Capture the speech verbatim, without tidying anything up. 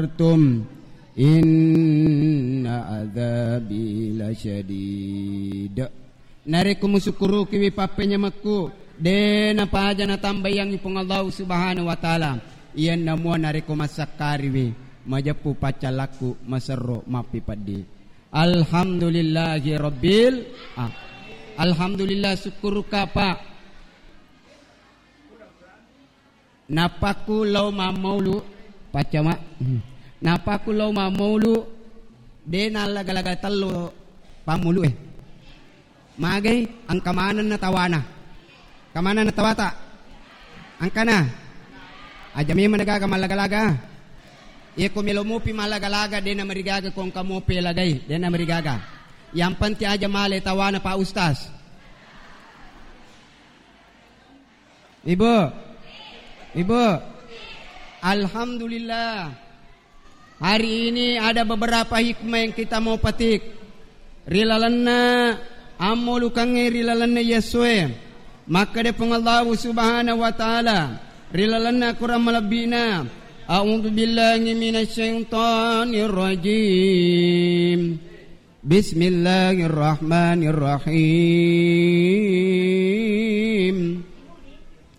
sabartum, inna adzabi lasyadid. Narekko musukkurukiwi pappenyamekku, de napaja natambaiyangngi Puang Allahu Subhanahu wa Ta'ala. Iyanna mua narekko massakkariwi, majeppu paccallakku, maserro, mappipeddi. Alhamdulillahi rabbil, ah. Alhamdulillah, sukkuruka, Pak. Napakku lao mammaulu, paccama. Napakku lao mammaulu, de nallaga-laga tello pammulu e. Magai, engka manenna tawana. Engka manenna tawata. Engkana. Aja memang gaga mallaga-laga. Iya ko melo mopi mallaga-laga, de namarigaga ko engka mopi lagai, de namarigaga. Yang penting aja male tawana, Pak Ustaz. Ibu, Ibu, alhamdulillah. Hari ini ada beberapa hikmah yang kita mau petik. Ri lalenna ammolukangnge, ri lalenna Yesu e. Makkeda Puang Allahu Subhanahu wa Ta'ala ri lalenna Quran malebbina, "A'udzu billahi minasyaitonir rajim. Bismillahirrahmanirrahim.